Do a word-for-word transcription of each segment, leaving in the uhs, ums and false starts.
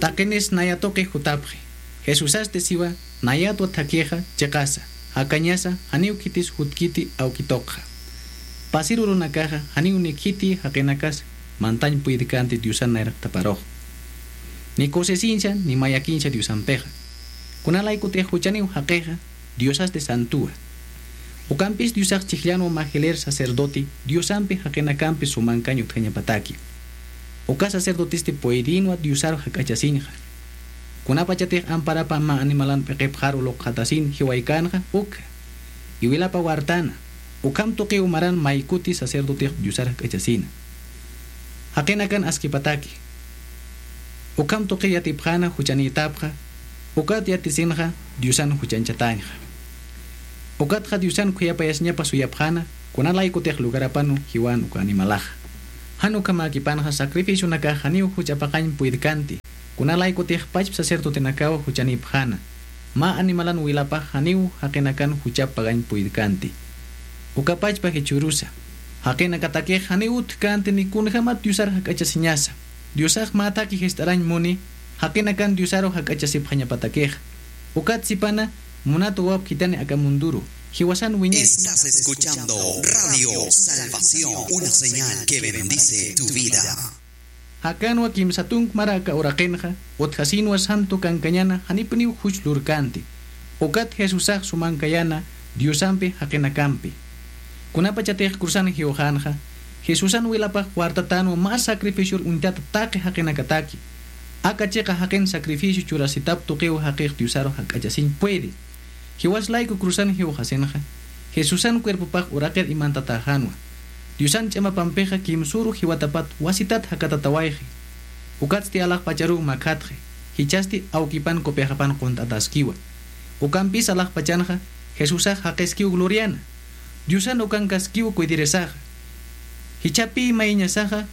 Taqinis naya tuqi jutapxi. Jesusasti siwa nayatwa thakhixa chiqasa, jakañasa, janiw khitis jutkiti awki tuqxa. Pasir urunakaxa janiw ni khiti jaqinakas mantañ puydkanti Diosan nayraqtaparux. Ni kusisinsa ni mayakinsa Diosampixa. Kunalaykutix juchaniw jaqixa Diosasti santuwa. Ukampis Diosax chhijllanwa mä jilir sacerdote Diosampi jaqinakampi sumankañ utjañapataki. Uka sacerdotesti puydinwa Diosaru jak'achasinxa. Kunapachatix amparapa mä animalan p'iqipxaru luqxatasin jiwaykänxa ukxa. Iwilapa wartana, ukham tuqiw maran maykuti sacerdotix Diosar jak'achasina. Jaqinakan askipataki. Ukham tuqi yatipxäna juchanïtapxa, ukat yatisinxa Diosan juchañchatañxa. Ukatxa Diosan khuyapayasiñapa suyapxäna, kunalaykutix lugarapanwa jiwan uka animalaxa. Jan ukhamäkipanxa sacrificionakax janiw juch'apaqañ puydkanti, kunalaykutix pachpa sacerdotenakaw juchanïpxäna, mä animalan wilapax janiw jaqinakan juchap pagañ puydkanti. Uka pachpa jichhürusa, jaqinakatakix janiw utjkänti ni kunjämat Diosar jak'achasiñasa. Diosax mä thakhi jist'arañ muni, jaqinakan Diosaru jak'achasipxañapatakixa. Ukat sipana, munat wawap khithani aka munduru, jiwasan wiñay. Estás escuchando Radio Salvación, una señal que bendice tu vida. Jakanwa kimsa tunk mara aka uraqinxa, utjasinwa santo kankañana janipuniw juch lurkänti. Ukat Jesusax sumankayana Diosampi jaqinakampi. Kunapachatix cruzan jiwxänxa, Jesusan wilapax wartatänwa mä sacrificior uñtata taqi jaqinakataki. Aka chiqa jaqin sacrificio churasitap tuqiw jaqix Diosaru jak'achasiñ puede. Jiwas layku cruzan jiwxasinxa, Jesusan cuerpopax uraqir imantatäxänwa. Diosan ch'amapampixa kimsüru jiwatapat wasitat jakatatawayxi. Ukatsti alaxpacharuw makhatxi, jichhasti awkipan copexapan qunt'ataskiwa. Ukampis alaxpachanxa, Jesusax jaqiskiw gloriana. Diosan ukankaskiw cuidirisaxa. Jichhapi mayiñasaxa,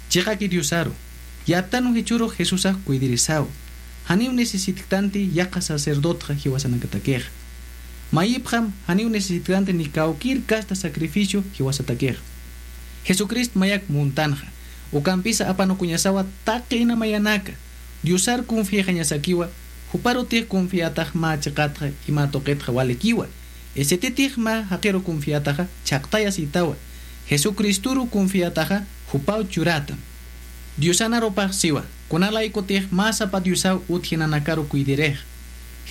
chiqaki Diosaru. Yattanw jichhürux Jesusax cuidirisaw. Janiw necesitktanti yaqha sacerdotxa jiwasanakatakixa. Mayipxam janiw necesitktanti ni kawkir kasta sacrificio jiwasatakixa. Jesucristo mayak muntanxa. Ukampisa apanukuñasawa taqi ina mayanaka. Diosar confiaxañasakiwa, juparutix confiatax mä chiqatxa ima tuqitxa walikiwa. Esititix mä jaqiru confiataxa chhaqtayasitawa. Jesucristoru confiataxa jupaw churatam. Diosanarupax siwa, kunalaykutix mä sapa Diosaw utjinanakaru cuidirix.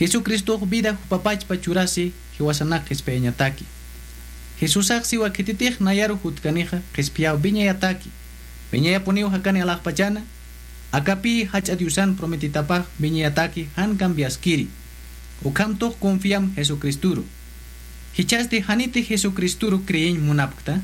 Jesucristox vida jupapachpa churasi jiwasanak qhispiyañataki. Jesusax siwa khititix nayaru jutkanixa qhispiyaw wiñayataki. Wiñayapuniw jakani alaxpachana, akapï jach'a Diosan prometitapax wiñayataki jan cambiaskiri. Ukhamtux confiam Jesucristoru. Jichhasti janiti Jesucristoru creeñ munapkta,